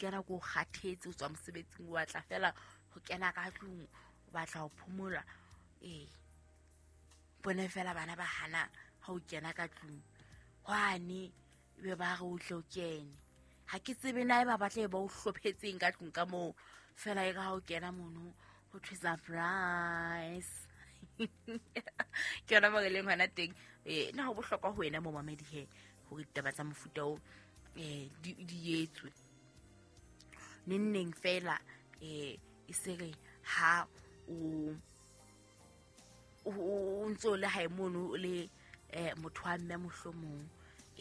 Ka nako o kgathetse, o tswa mosebetsing, o batla fela ho kena ka tlung, o batla ho phomola. Ee, bone fela bana ba hana ha o kena ka tlung hwane, ebe ba re o tle o kene. Ha ke tsebe na e ba batle ba o hlophetseng ka tlung ka moo, fela e ka ha o kena mono ho thwe surprise. Ke yona mo re leng hona teng. Na ho bohlokwa ho wena momamedi he hore ditaba tsa mofuta o di etswe neng neng fela, e se re ha o ntse o le hae mono o le motho wa mme, mohlomong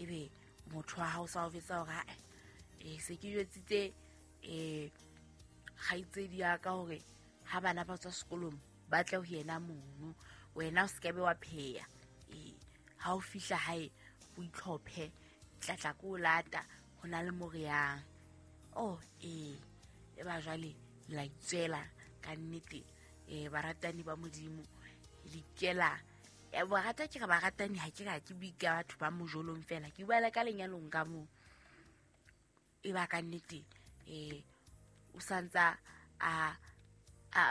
ebe motho wa hao sa o jwetsa hore se ke jwetsitse kgaitsedi ya ka hore ha bana ba tswa sekolong ba tle ho yena mono, wena o se ke be wa pheya. Ha o fihla hae o itlhophe, tlatla ko o lata ho na le mo re yang. Oh ee, e ba jwale la itswela ka nnete. Baratani ba Modimo le ikela. Barata ke re baratani, ha ke re ha ke bue ka batho ba mojolong fela, ke bua le ka lenyalong ka moo. E ba ka nnete o santsa a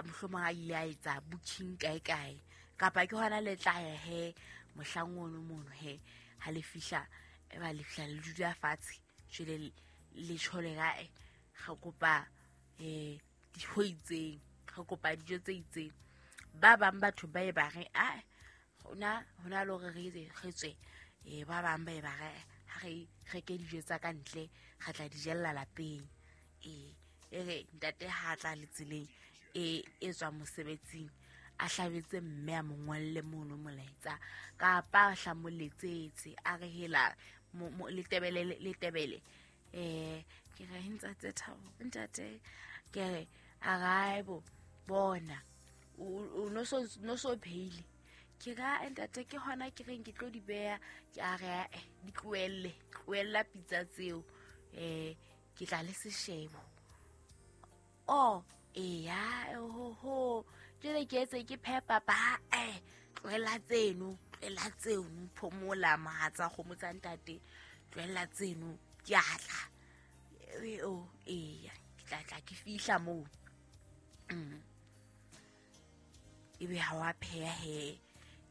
mohlomong a ile a etsa booking kae kae, kapa ke hona le tla ya he mohlang ono mono he ha le fihla, e ba le fihla le dula fatshe jwale le tjhole kae, re kopa dijo itseng, re kopa dijo tse itseng. Ba bang batho ba e ba re a hona le hore re tswe, ba bang ba e ba re ha re reke dijo tsa ka ntle, re tla di jella lapeng. E re ntate ha tla le tseleng e tswa mosebetsing, a hlabetse mme a mo ngolle mono molaetsa, kapa a hlamoletsetse a re hela letebele ke re ntate Thabo, ntate ke re araibo bona o no so pheile. Ke ra ntate ke hona ke reng ke tlo di beha, ke a re di tlohelle, tlohella pitsa tseo, ke tla le seshebo. Oh eya ho jwale ke etse ke phepa ba tlohella tseno, tlohella tseno, phomola mohatsa kgomo tsa ntate, tlohella tseno, ke a tla. O eya ke tla tla ke fihla moo. Ebe ha wa pheha he,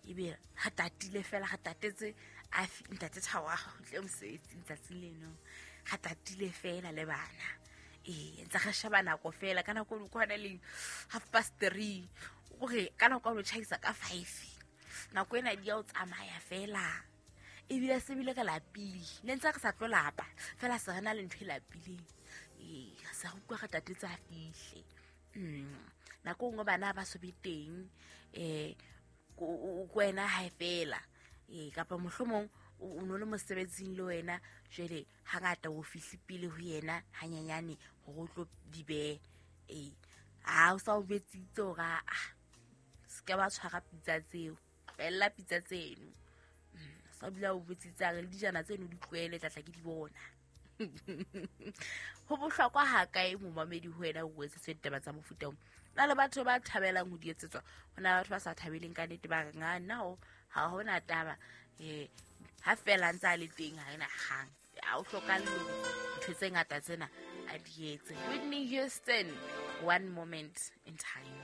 ebe re tatile fela, re tatetse a ntate Thabo a kgutle mosebetsing tsatsing leno, re tatile fela le bana. Ntse re sheba nako fela, ka nako e kwana leng 3:30, hore ka nako o tjhaisa ka 5, nako ena di ya o tsamaya fela. Ebile se bile re lapile, ne ntse re sa tlo lapa fela, se re na le ntho e lapileng. Re sa utlwa re tatetse a fihle. Nako nngwe bana ba so be teng, ko wena hae fela, kapa mohlomong o no le mosebetsing le wena, jwale hangata o fihle pele ho yena hanyenyane hore o tlo di behe. Ha o sa o jwetsitse hore a se ke ba tshwara pitsa tseo, tlohella pitsa tseno. Sa dula o jwetsitse a re le dijana tseno di tlohele, tlatla ke di bona. Ho bohlokwa ha kae momamedi ho wena o etsetswe ditaba tsa mofuta o? Na le batho ba thabelang ho di etsetswa, ho na le batho ba sa thabeleng ka nnete, ba reng a nna ha hona taba, ha fela ntse a le teng ha ena kgang, ha o hlokahale hore ntho tse ngata tsena a di etse. Whitney Houston, One Moment in Time.